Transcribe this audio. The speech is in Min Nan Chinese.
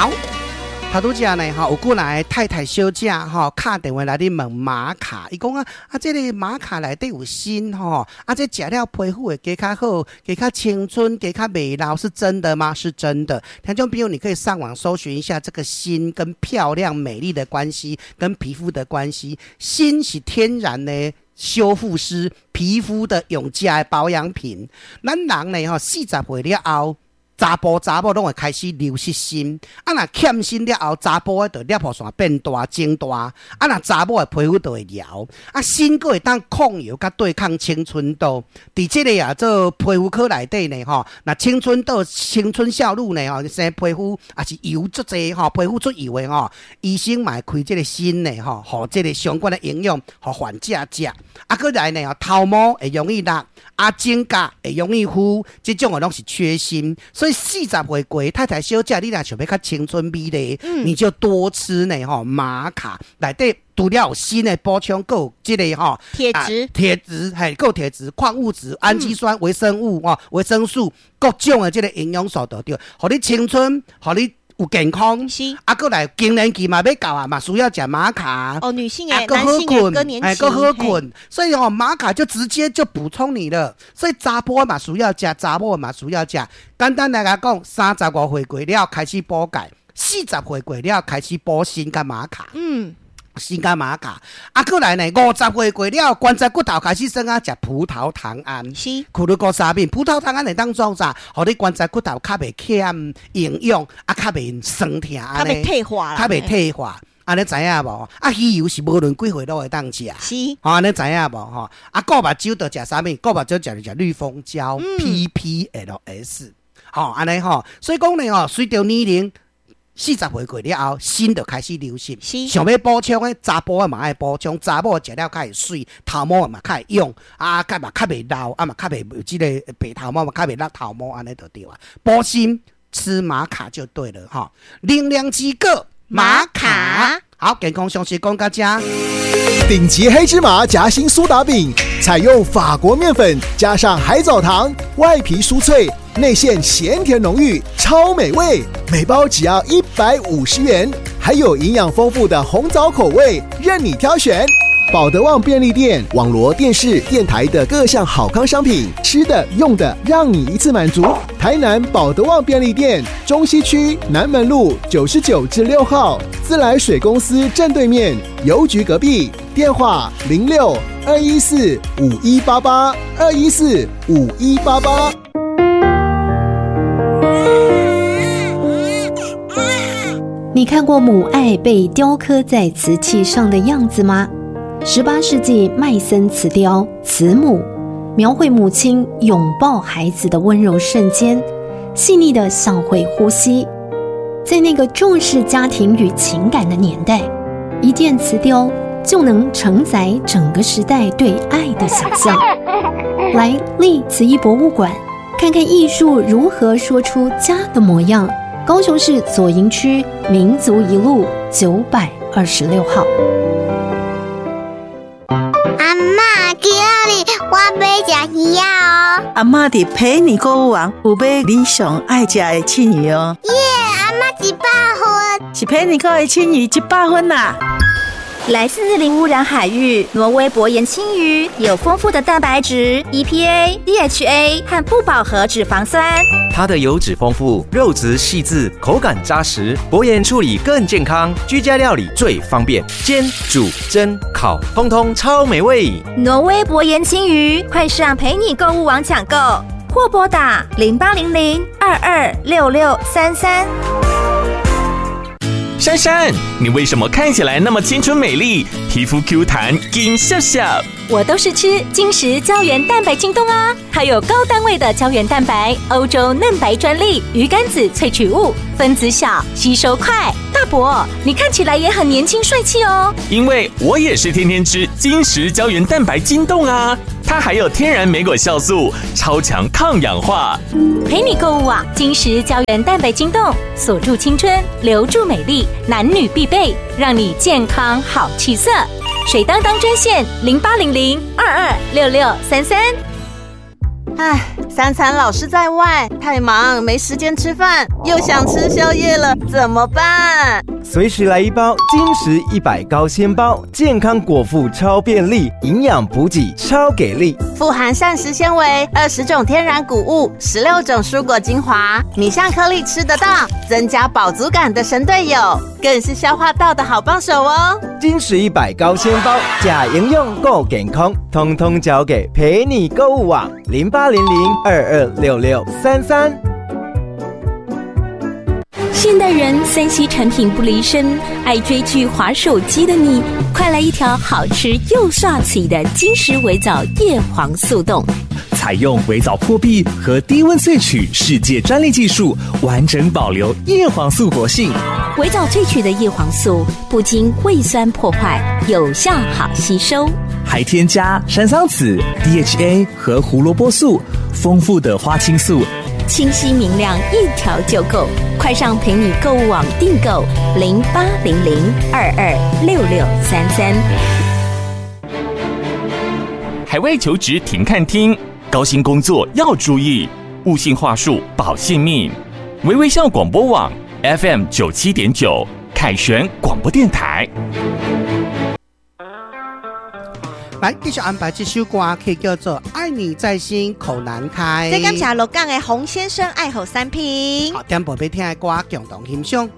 好。頭拄才呢吼，有幾若個太太小姐吼，敲電話來咧問瑪卡，伊講啊啊，這個瑪卡內底有鋅吼，啊，這食了皮膚會加較好，加較青春，加較袂老，是真的嗎？是真的。聽眾朋友，你可以上網搜尋一下這個鋅跟漂亮美麗的關係，跟皮膚的關係。鋅是天然的修復師，皮膚的用食的保養品。咱人呢吼，40歲了後，查埔查某攏會開始流失鋅，啊若欠鋅了後，查埔的就攝護腺變大增大，啊若查某的皮膚就會搖，啊鋅閣會當抗油佮對抗青春痘。佇這个啊做皮膚科內底呢吼，若青春痘、青春少女呢吼，生皮膚也是油足濟吼，皮膚出油的吼，醫生嘛會開這个鋅呢吼，予這个相關的營養，予患者食。啊，閣來呢吼，頭毛會容易落，啊指甲會容易枯，這種的攏是缺鋅，所以40歲過太太小姐，你若想欲較青春美麗，你就多吃呢吼瑪卡內底除了有鋅的補充，閣有這个吼鐵質、鐵質嘿，閣有鐵質、礦物質、氨基酸、維生物吼、維生素各種的這个營養素都對，予你青春，予你有健康，啊，閣來更年期嘛欲到啊，嘛需要食瑪卡。哦，女性的，男性的更年期，哎，閣好睏，所以哦，瑪卡就直接就補充你了。所以查埔嘛需要食，查某嘛需要食。簡單來講，35歲過了開始補鈣，40歲過了開始補鋅佮瑪卡。鋅佮瑪卡，啊，閣來呢，50歲過了，關節骨頭開始酸啊，食葡萄糖胺，苦魯高沙賓，葡萄糖胺會當創啥？予你關節骨頭較袂欠營養，啊，較袂酸疼，較袂退化，較袂退化，按呢知影無？啊，魚油是無論幾歲攏會當食，吼，按呢知影無？吼，啊，顧目睭就食啥物？顧目睭食食綠蜂膠，PPLS，吼，按呢吼，所以講呢吼，隨著年齡，40歲過了後，鋅就開始流失。想欲補充的，查埔的嘛愛補充，查某食了較會媠，頭毛嘛較會勇，啊，較嘛較袂老，啊嘛較袂有這个白頭毛嘛較袂落頭毛，按呢就對啊。補鋅吃瑪卡就對了吼。能量之果瑪卡，好，健康常識講到這。頂級黑芝麻夾心蘇打餅，採用法國麵粉加上海藻糖，外皮酥脆，內餡鹹甜濃郁，超美味。每包只要150元，還有營養豐富的紅棗口味，任你挑選。寶德旺便利店、網羅電視、電台的各項好康商品，吃的、用的，讓你一次滿足。台南寶德旺便利店，中西區南門路99之6號，自來水公司正對面，郵局隔壁。電話06-214-5188，214-5188。你看過母愛被雕刻在瓷器上的樣子嗎？18世紀麥森瓷雕《慈母》，描繪母親擁抱孩子的溫柔瞬間，細膩的像會呼吸。在那個重視家庭與情感的年代，一件瓷雕就能承載整個時代對愛的想象。來麗瓷藝博物館，看看藝術如何說出家的模樣。高雄市左營區民族一路926號。阿嬤，今仔日我欲食魚仔哦。阿嬤佇陪你購物網有買你上愛食的刺魚哦。耶，阿嬤100分。是陪你購的刺魚100分啦。來自零污染海域挪威薄鹽鯖魚，有豐富的蛋白質、EPA、DHA 和不飽和脂肪酸。它的油脂豐富，肉質細緻，口感扎實，薄鹽處理更健康，居家料理最方便，煎、煮、蒸、烤，通通超美味。挪威薄鹽鯖魚，快上陪你購物網搶購，或撥打0800-226633。珊珊，你為什麼看起來那麼青春美麗，皮膚 Q 彈，金笑笑？我都是吃晶石膠原蛋白晶凍啊，它有高單位的膠原蛋白，歐洲嫩白專利魚肝子萃取物，分子小，吸收快。大伯，你看起來也很年輕帥氣哦。因為我也是天天吃晶石膠原蛋白晶凍啊，它還有天然莓果酵素，超強抗氧化。陪你購物網，晶石膠原蛋白晶凍，鎖住青春，留住美麗，男女必備，讓你健康好氣色。水當當專線0800-226633。唉，三餐老是在外，太忙没时间吃饭，又想吃宵夜了，怎么办？随时来一包金石100高纤包，健康果腹超便利，营养补给超给力，富含膳食纤维，20种天然谷物，16种蔬果精华，米像颗粒吃得到，增加饱足感的神队友，更是消化道的好帮手哦。金石一百高纤包，呷营养顾健康，通通交给陪你购物网0800226633。现代人3C 产品不离身，爱追剧、滑手机的你，快来一条好吃又涮嘴的金石微藻叶黄素冻。采用微藻破壁和低温萃取世界专利技术，完整保留叶黄素活性。微藻萃取的叶黄素不经胃酸破坏，有效好吸收。还添加山桑子、DHA 和胡萝卜素，丰富的花青素。清晰明亮，一条就够。快上陪你购物网订购0800226633。海外求职停看听，高薪工作要注意，勿信话术保性命。微微笑广播网 FM 97.9，凯旋广播电台。来，继续安排这首歌曲叫做《爱你在心口难开》。这感谢鹿港的洪先生爱好三瓶。好，点播欲听的歌，共同欣赏。